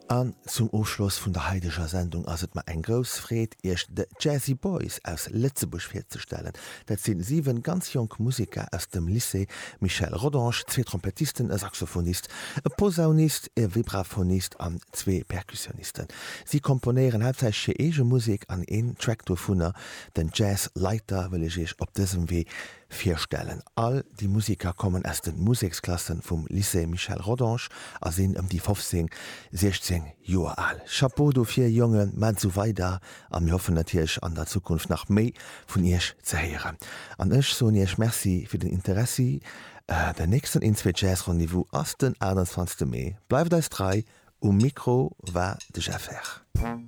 An zum Ofschloss vun der haideger Sendung ass et mer eng grouss Freed, Iech The Jazzy Boys aus Lëtzebuerg virzestellen. Dat sinn 7 ganz jonk Museker aus dem Lycée Michel Rodange, zwee Trompettisten, e Saxophonist, e Posaunist, e Vibraphonist an zwee Perkussionisten. Si komponéieren haaptsächlech hir eege Musek an een Track dovunner, den Jazz Lighter, wëll ech Iech op dësem Wee virstellen. All déi Museker kommen aus de Museksklassen vum Lycée Michel Rodange a sinn ëm déi 15, 16 Joer al. Chapeau dofir Jongen, maacht esou weider a mir hoffen natierlech an der Zukunft nach méi vun iech ze héieren. An ech soen iech Merci fir den Interessi. Den nächsten Inzwee Jazz Rendez-vous ass den 28 Mee. Bleift eis trei, um Mikro war de Jeff Herr.